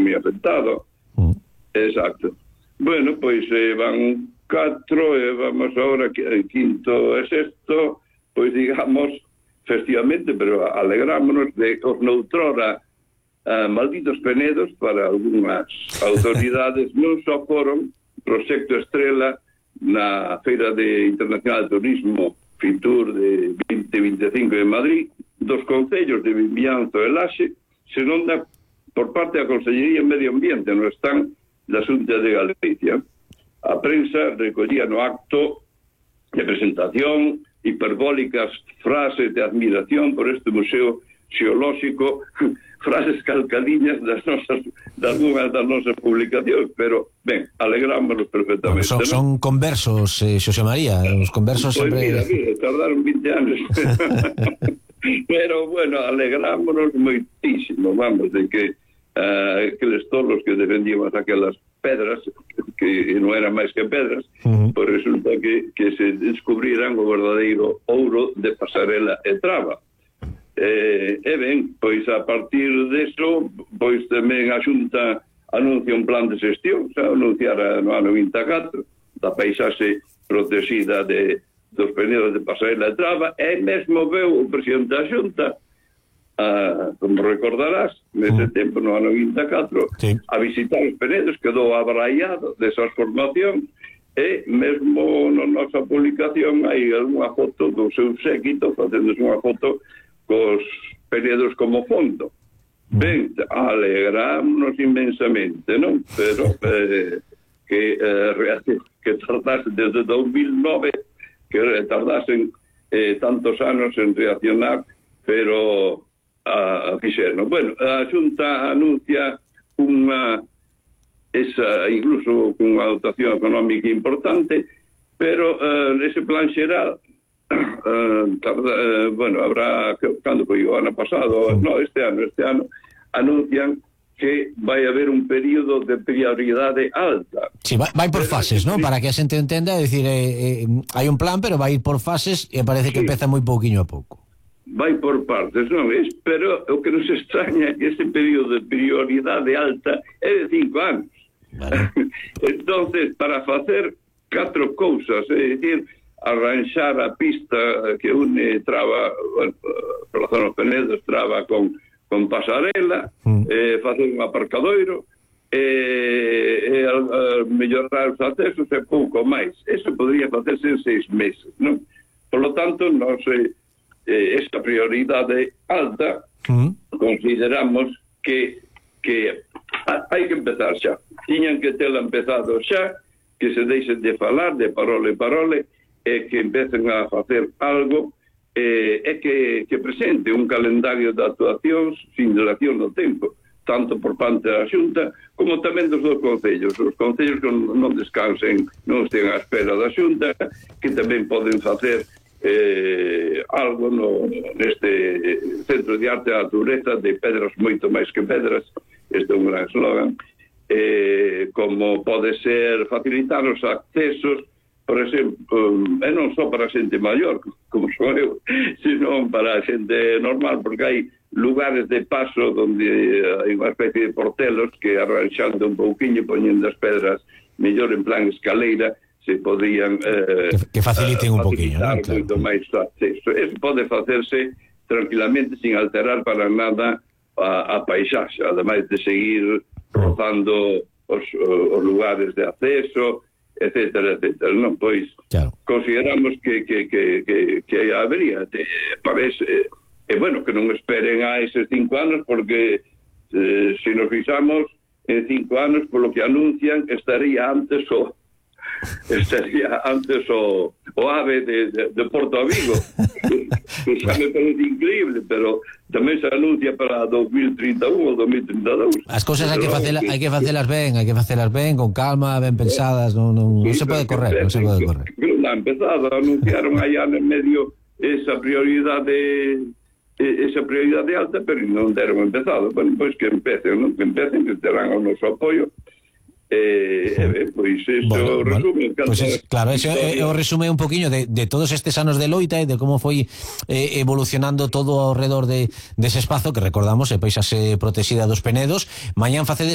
moi afectado. Exacto. Bueno, pois van 4 e vamos agora quinto e sexto, pois digamos festivamente, pero alegrámonos de os noutrora malditos penedos para algunhas autoridades non só foron proxecto estrela na Feira Internacional de Turismo Fitur de 2025 de Madrid, dos concellos de Vimianzo e Laxe, senón por parte da Consellería de Medio Ambiente, no están da Xunta de Galicia. A prensa recollía no acto de presentación hiperbólicas frases de admiración por este museo xeolóxico, frases calcadiñas de algunhas das nosas publicacións, pero, ben, alegrámonos perfectamente. Bueno, son conversos, Xosé María, os conversos pues sempre... Mira, tardaron 20 anos. Pero, bueno, alegrámonos moitísimo, vamos, de que aqueles tolos que defendíamos aquelas pedras, que non eran máis que pedras, pois resulta que se descubriran o verdadeiro ouro de Pasarela e Traba. E ben, pois a partir deso, pois tamén a Xunta anuncia un plan de xestión, xa anunciara no ano 24, da paisaxe protexida dos penedos de Pasarela e Traba, e mesmo veu o presidente da Xunta, como recordarás, nese tempo, no ano 24, sí, a visitar os penedos, quedou abraiado desas formacións, e mesmo na nosa publicación hai algunha foto do seu séquito facéndose unha foto cos penedos como fondo. Ben, alegrámonos inmensamente, non? Pero que tardasen desde 2009, que tardasen tantos anos en reaccionar, pero fixeron. Bueno, a Xunta anuncia incluso unha dotación económica importante, pero ese plan xeral bueno, habrá, cando foi o ano pasado, no, este ano anuncian que vai haber un período de prioridade alta. Sí, vai por fases, ¿no? Para que a xente entenda, é dicir, hai un plan, pero vai por fases e parece que empeza moi pouquiño a pouco. Vai por partes, non é? Pero o que nos extraña é que ese período de prioridade alta é de 5 anos. Vale. Entonces, para facer 4 cousas, é dicir, arranxar a pista que une Traba, bueno, pola zona dos Penedos, Traba con Pasarela, facer un aparcadoiro, mellorar os accesos e pouco máis. Eso podría facerse en 6 meses, non? Por lo tanto, non sei, esta prioridade alta consideramos que hai que empezar xa. Tiñan que tela empezado xa, que se deixen de falar de parole e que empecen a facer algo e que presente un calendario de actuacións sin dilación no tempo, tanto por parte da Xunta como tamén dos dos concellos. Os concellos que non descansen, non estén á espera da Xunta, que tamén poden facer algo neste Centro de Arte e Natureza de pedras moito máis que pedras, este é un gran slogan, como pode ser facilitar os accesos, por exemplo, e non só para a xente maior, como sou eu, sino para a xente normal, porque hai lugares de paso onde hai unha especie de portelos que arranxando un pouquiño, poñendo as pedras mellor en plan escaleira, se podían que faciliten un poquinho, ¿no? Claro. Moito máis acceso. Eso pode facerse tranquilamente sin alterar para nada a paisaxe, ademais de seguir rozando os lugares de acceso, etcétera, etcétera. Non, pois, claro, consideramos que habería, parece, bueno, que non esperen a eses 5 anos, porque se nos fixamos en 5 anos, polo que anuncian, estaría antes o AVE de Porto Avigo, que xa me parece increíble, pero tamén se anuncia para 2031 ou 2032. As cousas hai que facelas ben, con calma, ben pensadas, non se pode correr, non se pode correr. Non ha empezado, anunciaron aí ano en medio esa prioridade alta, pero non deron empezado. Bueno, pois que empecen, que terán o noso apoio. Pois iso resume, pues claro, ese o resume un poquinho de todos estes anos de loita e de como foi evolucionando todo ao redor dese espazo que recordamos, paisaxe protexida dos Penedos. Mañán facedes